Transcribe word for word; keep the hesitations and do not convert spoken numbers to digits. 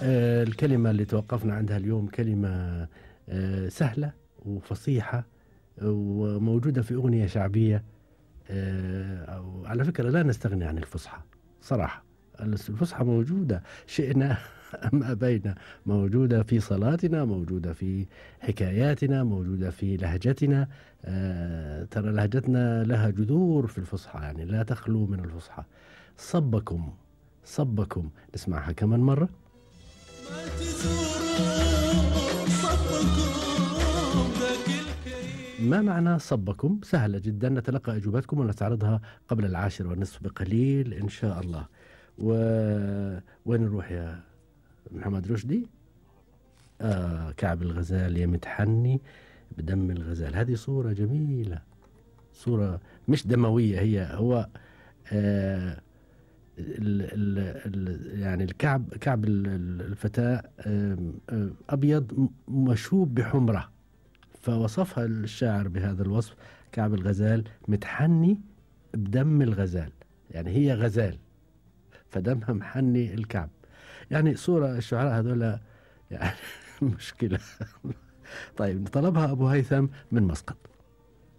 آه، الكلمة اللي توقفنا عندها اليوم كلمة آه، سهلة وفصيحة وموجودة في أغنية شعبية. آه، وعلى فكرة لا نستغني عن الفصحى صراحة. الفصحى موجودة شئنا أم أبينا، موجودة في صلاتنا، موجودة في حكاياتنا، موجودة في لهجتنا. آه، ترى لهجتنا لها جذور في الفصحى، يعني لا تخلو من الفصحى. صبكم صبكم، نسمعها كمان مرة. ما معنى صبكم؟ سهلة جدا، نتلقى أجوبتكم ونستعرضها قبل العاشر والنصف بقليل إن شاء الله. و... وين نروح يا محمد رشدي؟ آه، كعب الغزال يا متحني بدم الغزال. هذه صورة جميلة، صورة مش دموية، هي هو آه ال ال ال يعني الكعب، كعب الفتاة أبيض مشوب بحمرة، فوصفها الشاعر بهذا الوصف: كعب الغزال متحني بدم الغزال، يعني هي غزال فدمها محني الكعب. يعني صورة الشعراء هذولا يعني مشكلة. طيب، طلبها أبو هيثم من مسقط.